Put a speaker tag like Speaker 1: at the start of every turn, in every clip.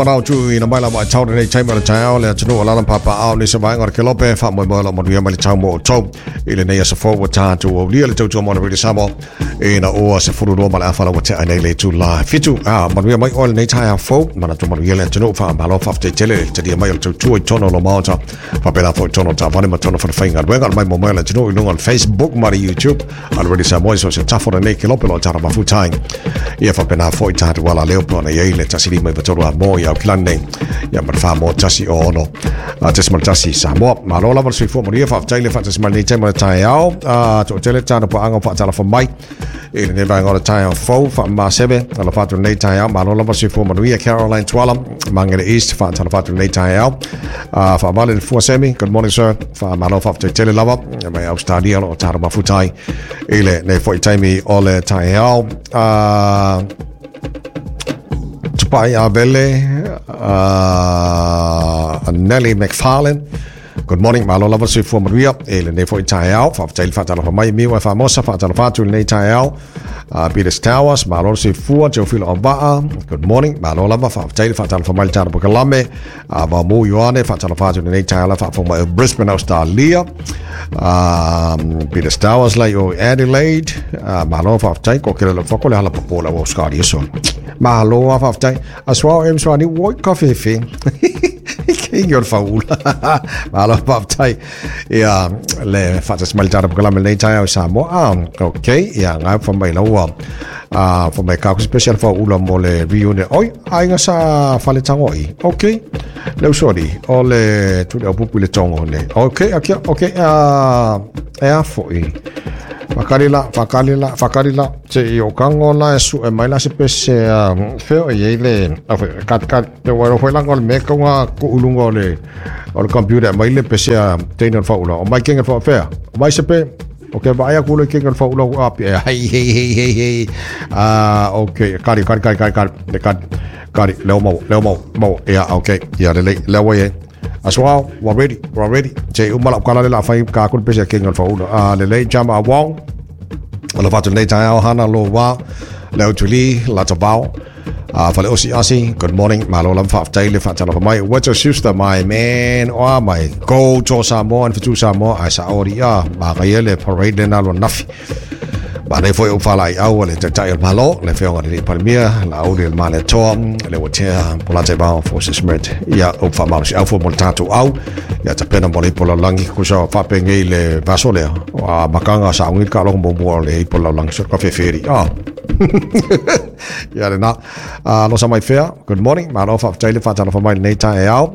Speaker 1: Manao tuuina mai la vaitau lenei taimi o le taeao le atunuu o lana papaao nisi vaega o le kelope faamoemoe lo manuia mai le tau mo outou i lenei aso fou ua tatou aulia le tautua mo le Radio Samoa ina ua 12:30 la ua tea nei le itula 7. A manuia mai oe lenei taeao fou, manatu manuia le atunuu. Faamalo faafetai tele le talia mai o le tautua i totonu o lo maota faapena foi totonu o taavale ma totonu o falefaigaluega le mai mo mai o le atunuu i luga o le Facebook ma le YouTube a le Radio Samoa i so se tafo lenei kelope lo tara mafutai ia faapena foi tatou ala leo pe ona iai le 153 a mo i Aukilani nei ia ma le 4 1 6 .1 Samoa. Malo lava le soifua manuia, faafetai le faatasi mai lenei taimi o le taeao. Toatele tana paaga faatalafa mai i lenei vaega o le taeao fou. Faamaseve alofa atu lenei taeao, malo lava le soifua manuia. Caroline Tuala, Mangere East, faatalafa atu lenei taeao. Faavale le fua semi, good morning sir, faamalo faafetai tele lava mai Australia lo o taro mafutai i lenei foi taimi o le taeao. Tupai Avele, Nelly McFarlane, good morning, malo lava le soifua manuia e lenei foi taeao, faafetai le faatalofa mai. Miu e Famosa, faatalofa atu lenei taeao. Peters Towers, malo le soifua. Teofilo Avaa, good morning, malo lava, faafetai le faatalofa mai le tala pakalame. Vamu Ioane, faatalofa atu lenei taeao la faafofoga mai o Brisbane, Australia. Peters Towers lai o Adelaide, malo faafetai ko kele le fako le hala papo la Australia so. Malo a faafetai. Aswao em swani woi coffee fe. King o faula. Malo faafetai. Ia le faatasi mai le tala pakalame lenei taeao i Samoa. Ah, okay, ia ngai fa mai laua. Ah, fa mai ka special faula mo le reunion. Oi, aiga sa fale tangoi. Okay. Le usori o le tu le opupu le tongo ne. Okay. Ah, e a foi. Whakarila, whakarila, whakarila. Te i o kango la e su e mai la se pese feo e iei le kat kat te wairo foi langa o le mea kaunga ku ulunga o le computer mai le pese a teina o le faula. O mai kenga le whaafea. O mai se pe. Ok, vai aku le kenga le faula o api. Hei, hei, hei, hei, hei. Ah, ok, kari, kari, kari, kari, kari, le kari, kari, leo mau, leo mau, mau. Ia, ok, ia, le leo e. Aswao, wa ready, wa ready. Te umala ukala le la whai ka aku le pese a kenga le faula. Ah, le lei jama a wong. O le fatu nei taeao hana lo wā, leo tuli, la tavao. Fale osi asi, good morning, malo lava faafetai le faatalofa mai. What's your sister, my man? Oh, my go to Samoa and Fatu Samoa, ai sa ori a, ma le parade le nalo nafi. Ma nei foi o whalai au le taitai o le malo, le whionga le palimia, la auri le male toa, le watea, polate bao, forces smert, ia o whamalo si au fo mo le tātou au, ia ta pena mo le ipo laulangi, kusa whape ngei le vaso lea, a makanga sa ungi ka longo mo mua le ipo laulangi, so ka whewheri, ah. Ia le nā. Losa mai fea, good morning, malo faafetai le faatalofa mai lenei taeao.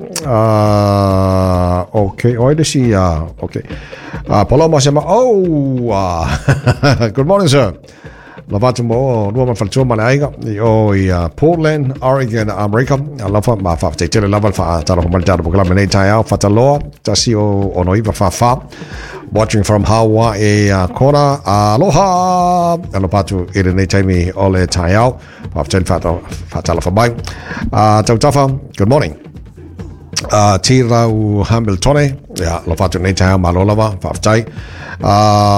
Speaker 1: Okay, oi le si, okay. Paloma sema, oh, good morning sir. Lavatu mo lua ma faletua ma le aiga i o i Portland, Oregon, Amerika. Alofa ma faafetai tele lava le faatalofa mai le tatou polokalame lenei taeao. Fataloa, 169 44. Watching from Hawaii, Kona. Aloha! Alofa atu i lenei taimi o le taeao. Faafetai le faatalofa mai. Tautafa, good morning. Tirau Hamiltone, ia, alofa atu nei taeao, malo lava, faafetai.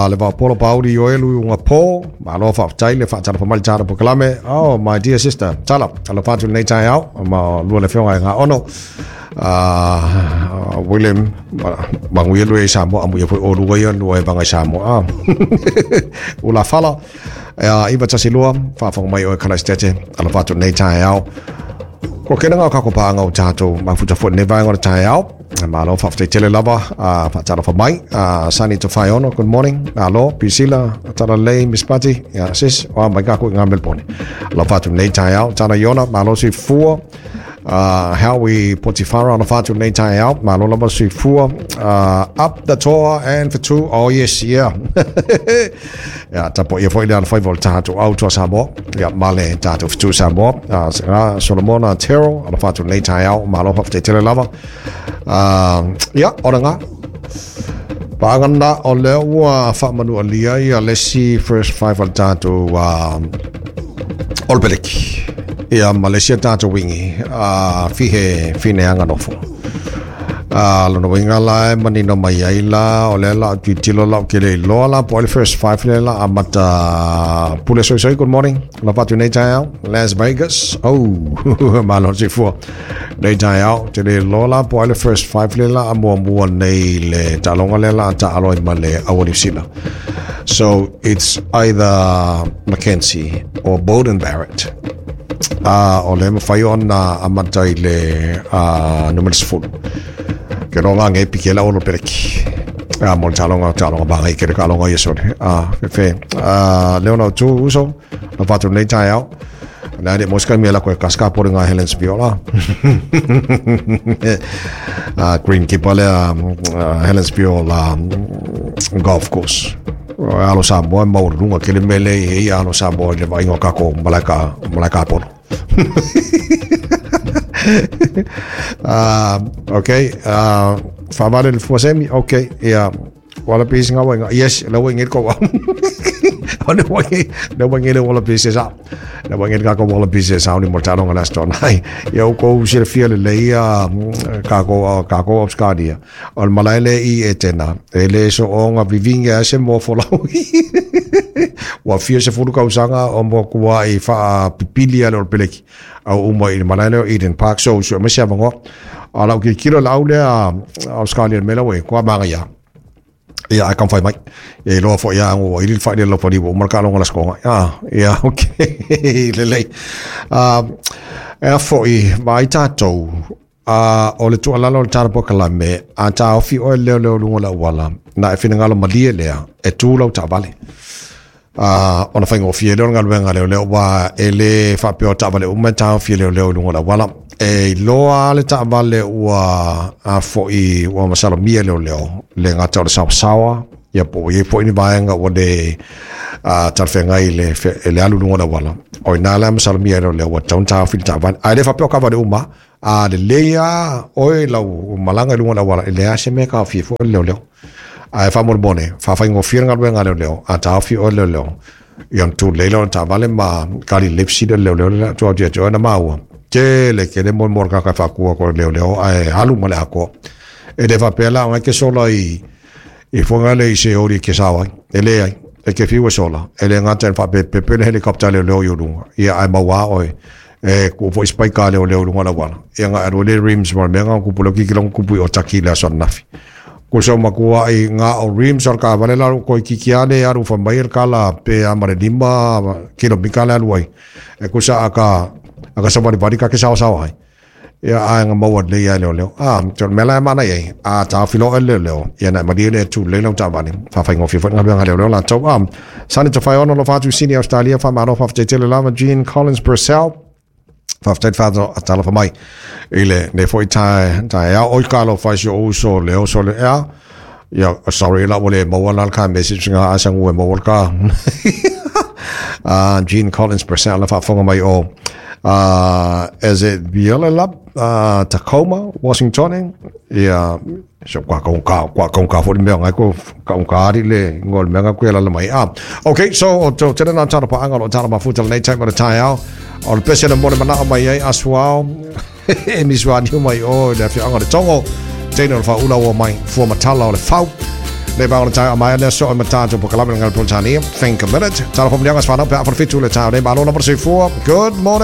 Speaker 1: Le vaopolo pauri o elu i unga pō, malo faafetai le faatalofa mai le tala polokalame. Oh, my dear sister, tala, alofa atu nei taeao, ma lua le whionga e ngā ono. William, mangu ia lue i Samoa, amu ia foi o lua ia lua e vanga i Samoa. Ula fala, 912, faafofoga mai o e kala stete, alofa atu nei taeao. Ko kena ngā kako pānga o tātou mafuta fo ne vaenga o le taeao. Malo faafetai tele lava faatalofa mai. Sani to whaiono, good morning. Alo, Priscilla, tala lei, Miss Pati, ia sis, o mai kako i ngā Melbourne. Alofa atu nei taeao. Tana Iona, malo si fua. Howie Potifara alofa atu nei taeao. Malo lava si fua. Up the toa and for two. Oh yes, yeah. Ia, tapo ia foi le ala whaiva o le tātou au toa Samoa. Ia, male tātou Fatu Samoa. Solomona Tero, alofa atu nei taeao. Malo faafetai tele lava. Ia, ora ngā. Paangana o lea ua whaamanu alia ia lesi first five o le tātou o le peleki. Ia, Malaysia tātou wingi. Fihe whine anga nofo. Lona uiga la e manino mai ai la o lea la o tilotilo la ou te le iloa la po o ai le first five lea la amata pule soisoi. Good morning alofa atu nei taeao Las Vegas. Oh, malo le soifua nei taeao te le iloa la po o ai le first five lea la a muamua nei le taaloga lea la a taalo ai ma le Aua Niu Sila. So it's either Mackenzie or Bowden Barrett. O le mafai ona amata i le numera 10. Ke roga nge pike la olo peleki. Mo le taaloga taaloga magai ke le kaaloga ia sole. Fefe. Leona o tu uso. Na whatu nei taeao. Na le moska mi la ko kaska por nga Helens Viola. Green keeper le Helens Viola golf course. Alo Samoa maualuluga kele mea lea i ai alo Samoa i le vaaiga o kako malae malae kapono. Okay, faavale le fua semi, okay, ia Wallabies nga wainga. Yes, le wainga ko wa. O le wainga, le wainga le Wallabies sa. Le wainga ka ko Wallabies sa ni mo talo nga last on. Ai, ia o ko silafia lelei ia kako kako Australia. O le malae le i e tena. E le so o nga vivinga se mo folau. Ua fia se fulu kausaga o mo kua i wha pipili ale o le peleki. Au uma i le malae leo Eden Park. So, so mese avangoa. A lau kilokilo lau lea Australia mela we kua manga ia. Ia, ai kamfai mai. Ia iloa foi ia ua ili le fai le lopali ua uma le kaaloga la skonga. Ah, ia, okay. Lelei. Ea foi, vaai tatou, o le tuualalo o le tala polokalame, a taofi oe leoleo luga o le auala, na e finagalo malie lea, e tu lau taavale. Ona faigofie lea o le galuega a leoleo, aua e le faapea o taavale uma e taofi e leoleo i luga o le auala. E iloa lava le taavale ua a foi ua masalomia e leoleo, le gata o le saoasaoa, ia po ua i ai foi ni vaega ua le talafeagai i le, le alu i luga o le auala. O i ina la e masalomia e leoleo ua tatau ona taofi le taavale. Ae le faapea o taavale uma, a lelei lava oe i lau malaga i luga o le auala, e leai lava se mea e taofia ai foi le leoleo. Ae faamolemole, faafaigofie le galuega a leoleo, a taofi oe e leoleo, ia ona tulei lea o le taavale ma kali lipsi lea le leoleo lea atu ia te oe na maua. Tele tele mo mo le tagata e faatua atu e le leoleo ae alu ma le atoa. E le faapea la o ke sola i i foga le i se ori e ke sao ai. E leai, e ke fiu e sola. E le gata e faapepepe le helicopter a leoleo i ou luga. Ia ae maua oe. E kuu foi spike a leoleo i luga o le auala. Ia nga alu ai le rims ma le mea nga kupu leo kikilo nga kupu i Otaki i le aso ananafi. Ko se matua i nga o rims o le taavale la ko kiki a le alu fai mai le kala pe a ma le 5 kilomita le alu ai. E kusa aka aka savalivali ka ke saosaoa ai. Ia ae nga maua lelei ai leoleo. A, te o le mea la e mana i ai. A taofi loa e leoleo. Ia na e malie le tu lelei lau taavale. Faafaigofie foi le galuega a leoleo latou. A, Sani Tafaiaono alofa atu i Sini Australia. Faamalo faafetai tele lava Jean Collins Purcell. Faafetai le faatalofa mai i lenei foi taeao. Oi ka alofa i si ou uso le oso le ea. Ia, sorry la ua le maua la le ka message nga a sangu e maua le ka. Jean Collins Purcell la faafofoga mai o is it Viola Tacoma, Washington? Ia, so kwa ka ka kwa ka ka fo mea ngai ko ka ka ari le ngol mea ko la mai. Ah, okay, so o to tena na tara pa anga lo tara mafuta le nei time o le taeao. O le pese le mo le manao mai ai asuao. E misuani mai o le afioaga o le Togo. Teine o le faaula ua mai fua matala o le fau. Le vao le taeao mai le aso o matato po kalame ngale Politania. Think a minute. Tala fo mlianga sfanau pe a fo le fitu le taeao nei. Malo lava le soifua. Good morning.